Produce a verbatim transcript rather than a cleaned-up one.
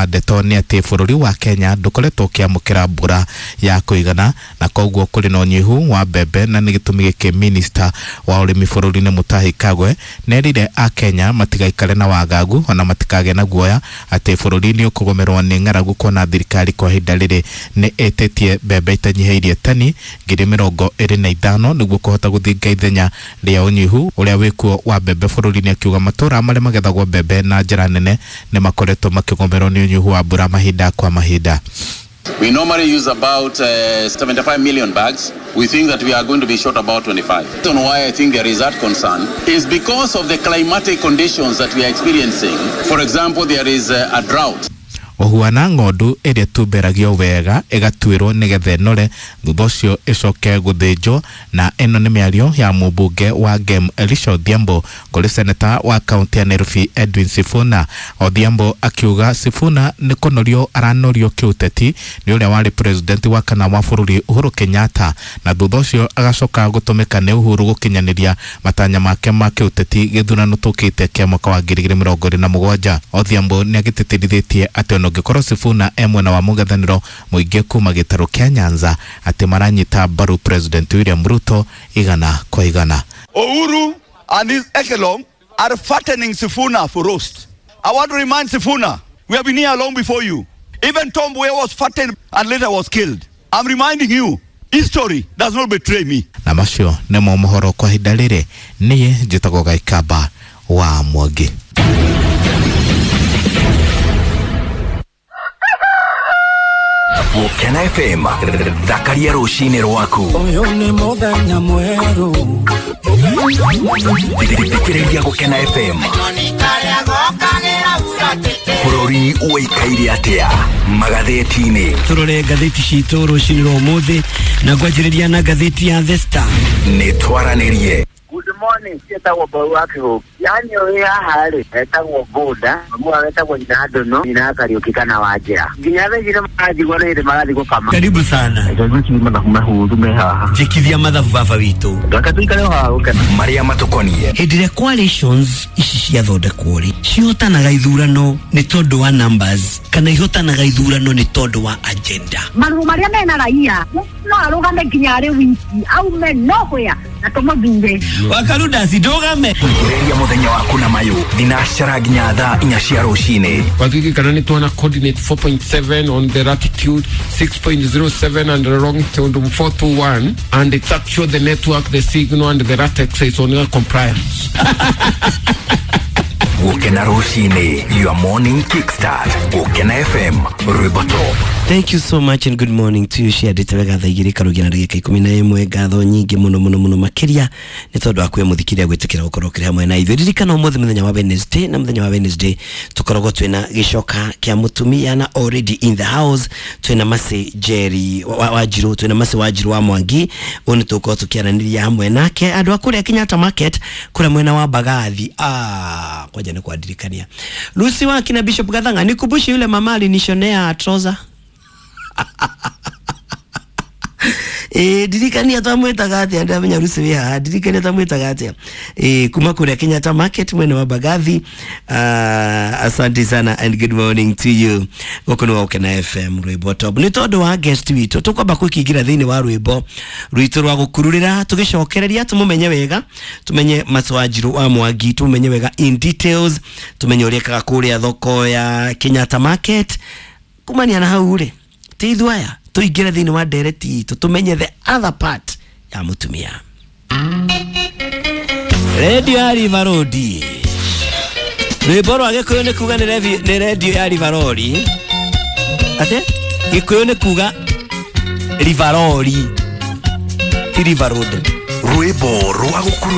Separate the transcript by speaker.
Speaker 1: Ndeto nĩ atĩ bũrũri wa Kenya ndũkoretwo ũkĩamũkĩra mbura ya kũigana na koguo kũrĩ na ũnyihu wa mbembe, na nĩ gĩtũmi gĩkĩ minista wa ũrĩmi bũrũri-inĩ Mutahi Kagwe nerire a Kenya matigaikare na wagagu ona matikagĩe na guoya atĩ bũrũri nĩ ũkũgũmĩrwo nĩ ng'aragu, kuona thirikari kwa ihinda rĩrĩ nĩ ĩtĩtie mbembe itanyihĩirie tani ngiri mĩrongo ĩrĩ na ithano nĩguo kũhota gũthinga ithenya rĩa ũnyihu ũrĩa wĩkuo wa mbembe bũrũri-inĩ. Akiuga matũra marĩa magethagwo mbembe na njĩra nene nĩ makoretwo makĩgũmĩrwo nĩ ũnyihu wa mbura mahinda kwa mahinda.
Speaker 2: We normally use about uh, seventy-five million bags. We think that we are going to be short about twenty-five. The reason why I think there is that concern is because of the climatic conditions that we are experiencing. For example, there is a, a drought.
Speaker 1: Ũhuana ng'ondu ĩrĩa ĩtumberagio wega ĩgatuĩrwo nĩgetha ĩnore, thutha ũcio ĩcoke gũthĩnjwo. Na ĩno nĩ mĩario ya mũmbunge wa Gem Elisha Odhiambo kũrĩ seneta wa kaunti ya Nairobi Edwin Sifuna. Odhiambo akiuga Sifuna nĩ kũnorio aranorio kĩũteti nĩ ũrĩa warĩ president wa kana wa bũrũri Uhuru Kenyatta, na thutha ũcio agacoka gũtũmĩka nĩ Uhuru gũkinyanĩria matanya make ma kĩũteti gĩthurano tũkĩte kĩa mwaka wa ngiri igĩrĩ mĩrongo ĩrĩ na mũgwanja. Odhiambo nĩ agĩtĩtĩrithĩtie atĩ ona ũngĩkorwo Sifuna e mwena wa mũng'ethanĩro mũingĩ kuma gĩtarũ kĩa Nyanza atĩ maranyita mbaru President William Ruto igana kwa igana.
Speaker 3: Uhuru and his echelon are fattening Sifuna for roast. I want to remind Sifuna, we have been here long before you. Even Tom Mboya was fattened and later was killed. I'm reminding you, history does not betray me.
Speaker 1: Na macio nĩmo mohoro kwa ihinda rĩrĩ. Niĩ njĩtagwo Gaikamba wa Mwangi.
Speaker 4: Gũkena F M, thakaria rũcinĩ rwaku.
Speaker 5: Ũyũ nĩ mũthenya mwerũ.
Speaker 4: Thikĩrĩria Gũkena F M. Bũrũri ũikaire atĩa magathĩti-inĩ?
Speaker 5: Tũrore ngathĩti citũ rũcinĩ rwa ũmũthĩ na ngwanjĩrĩria na ngathĩti ya The Star.
Speaker 4: Nĩ twaranĩrie.
Speaker 6: Good morning, ciĩtagwo Mbau wa Kĩhũngĩ. Yaani ũrĩ haha rĩ, etagwo Boda, mwe etagwo nyina Ndono, nyina Kariũki kana Wanjĩra. Nginya thaa ici nĩmaranjigua nĩ hĩndĩ marathiĩ gũkama.
Speaker 5: Karibu sana.
Speaker 6: Reke mathabu mahũthũ me haha.
Speaker 5: Njĩkithia mathabu baba witũ.
Speaker 6: Reke tũikare o haha gũkena.
Speaker 4: Marĩa matũkoniĩ.
Speaker 5: Hĩndĩ ĩrĩa coalitions ici ciathondekwo rĩ, cihotanaga ithurano nĩ tondũ wa numbers kana ihotanaga ithurano nĩ tondũ wa agenda.
Speaker 7: Marũa marĩa mena raia no arũgame nginya arĩ wiki aume nowhere na tũmũthure.
Speaker 5: Wakaruda sidogame.
Speaker 4: Thikĩrĩria mũthenya waku na mayũ thinacara nginya thaa inya cia rũcinĩ.
Speaker 8: Watwiki kana nĩ tuona coordinate four point seven on the latitude, six point zero seven and the longitude four two one, and it's actually the network, the signal and the latex is on your compliance.
Speaker 4: Gũkena rũcinĩ, your morning kickstart. Gũkena F M, rwĩmbo top.
Speaker 5: Thank you so much and good morning to you. Ciandĩte wega thaa igĩrĩ karugia na ndagĩka ikũmi na ĩmwe. Ngatho nyingĩ mũno mũno mũno makĩria nĩ tondũ wa kwĩ mũthikĩria gwĩtĩkĩra gũkorwo ũkĩrĩ hamwe na ithuĩ. Ririkana ũmũthĩ mũthenya wa Wednesday, na mũthenya wa Wednesday tũkoragwo twĩna gĩcoka kĩa mũtumia na already in the house twĩna Mercy Jerry Wanjiru, twĩna Mercy Wanjiru wa Mwangi. Ũyũ nĩ tũgũkorwo tũkĩaranĩria hamwe nake andũ a kũrĩa Kenyatta Market kũrĩa mwena wa Mbagathi. Ah, kwaja nĩ kwandirikania Lucy wa kina Bishop Gathanga, nikumbushe yule mama alinishonea trouser. Eh, ndirikania twamwĩtaga atĩa, ndamenya Lucy wĩ haha, ndirikania twamwĩtaga atĩa. Eh, kuma kũrĩa Kenyatta Market mwena wa Mbagathi. Uh, asante sana and good morning to you. Gũkũ nĩ Gũkena F M rwĩmbo top. Nĩ tondũ wa guest witũ tũkwamba kwĩkĩingĩra thĩinĩ wa rwĩmbo rwitũ rwa gũkururĩra tũgĩcokereria tũmũmenye wega, tũmenye Mercy Wanjiru wa Mwangi, tũmenye wega in details, tũmenye ũrĩa ekaga kũrĩa thoko ya Kenyatta Market. Kumania na hau rĩ, ti ithuĩ aya tũingĩre thĩinĩ wa ndereti itũ tũmenye the other part ya mũtumia. Redio ya River Road, rwĩmbo rwa Gĩkũyũ nĩ kuga nĩ redio ya River Road. Atĩ Gĩkũyũ nĩ kuga River Road, ti River Road.
Speaker 4: Rwĩmbo rwa gũkuru.